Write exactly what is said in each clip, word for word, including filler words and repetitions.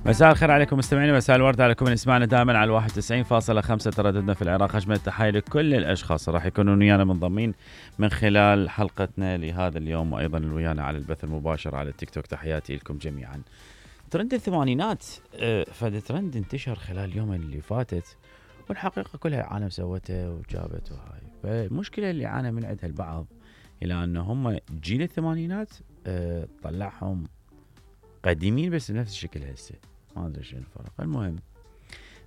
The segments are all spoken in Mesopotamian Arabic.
مساء الخير عليكم مستمعينا، مساء الورد عليكم من يسمعنا دائما على واحد وتسعين فاصلة خمسة ترددنا في العراق. أجمل التحية لكل الأشخاص راح يكونون ويانا منضمين من خلال حلقتنا لهذا اليوم، وأيضا ويانا على البث المباشر على التيك توك. تحياتي لكم جميعا. ترند الثمانينات فد ترند انتشر خلال اليوم اللي فاتت، والحقيقة كلها العالم سوته وجابته هاي. فالمشكلة اللي عانى من عندها البعض إلى أنه هم جيل الثمانينات طلعهم قديمين بس بنفس الشكل هسه، ما ادري شنو الفرق. المهم،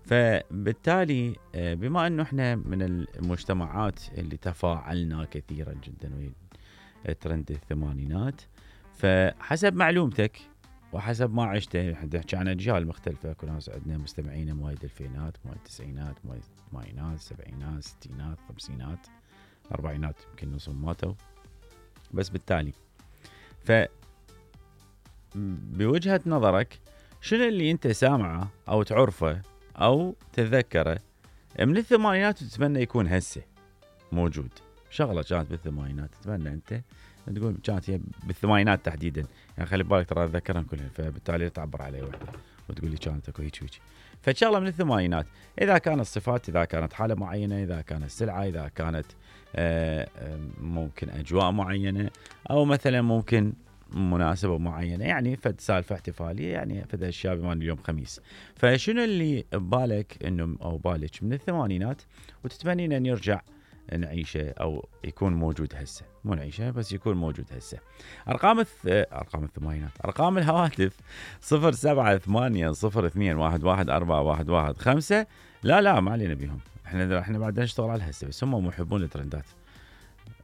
فبالتالي بما انه احنا من المجتمعات اللي تفاعلنا كثيرا جدا ويا ترند الثمانينات، فحسب معلومتك وحسب ما عشته، احنا نحكي عن اجيال مختلفه. كل ناس عندنا مستمعين مواليد الفينات، مواليد التسعينات، مواليد الثمانينات، السبعينات، الستينات، الخمسينات، الاربعينات، يمكن نصهم ماتوا. بس بالتالي ف بوجهة نظرك شنو اللي انت سامعه او تعرفه او تتذكره من الثمانينات وتتمنى يكون هسه موجود؟ شغلة كانت بالثمانينات تتمنى انت تقول كانت هي بالثمانينات تحديدا، يعني خلي بالك ترى اتذكرهم كلهم، فبالتالي تعبر عليه وحده وتقول لي كانت اكو هيك هيك. فشغلة من الثمانينات، اذا كانت صفات، اذا كانت حالة معينة، اذا كانت سلعة، اذا كانت آآ آآ ممكن اجواء معينة، او مثلا ممكن مناسبة معينة، يعني فد سالفة احتفالية، يعني فد اشياء بما اليوم خميس. فشنو اللي ببالك انه او بالك من الثمانينات وتتمنين ان يرجع نعيشه او يكون موجود هسه؟ مو نعيشه بس يكون موجود هسه. ارقام الث... ارقام الثمانينات، ارقام الهواتف صفر سبعة ثمانية صفر اثنين واحد واحد أربعة واحد واحد خمسة. لا لا ما علينا بيهم، احنا احنا بعد نشتغل على هسه، بس هم محبون الترندات.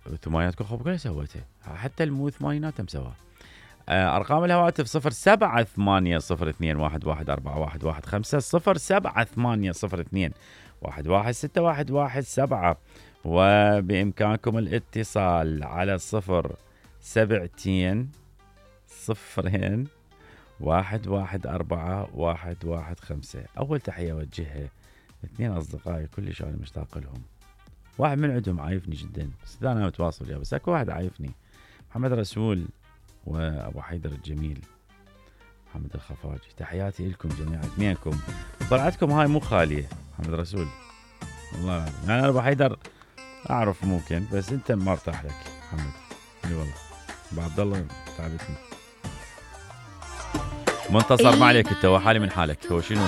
الثمانينات كل كلها سوتها، حتى المو ثمانينات هم سواها. أرقام الهواتف صفر سبعة ثمانية صفر اثنين واحد واحد أربعة واحد واحد خمسة، صفر سبعة ثمانية صفر اثنين واحد واحد ستة واحد واحد سبعة. وبإمكانكم الاتصال على صفر سبعتين صفرين واحد واحد أربعة واحد واحد خمسة. أول تحية أوجهها اثنين أصدقائي كلش أنا مشتاق لهم. واحد من عندهم عايفني جدا، بس أنا متواصل وياه، بس أكو واحد عايفني، محمد رسول وابو حيدر الجميل محمد الخفاجي. تحياتي لكم جميعا اثنينكم. طلعتكم هاي مو خاليه محمد رسول، والله العظيم. يعني انا ابو حيدر اعرف ممكن، بس انت ما ارتاح لك محمد. اي والله ابو عبد الله تعبتني. منتصر ما عليك انت، وحالي من حالك. هو شنو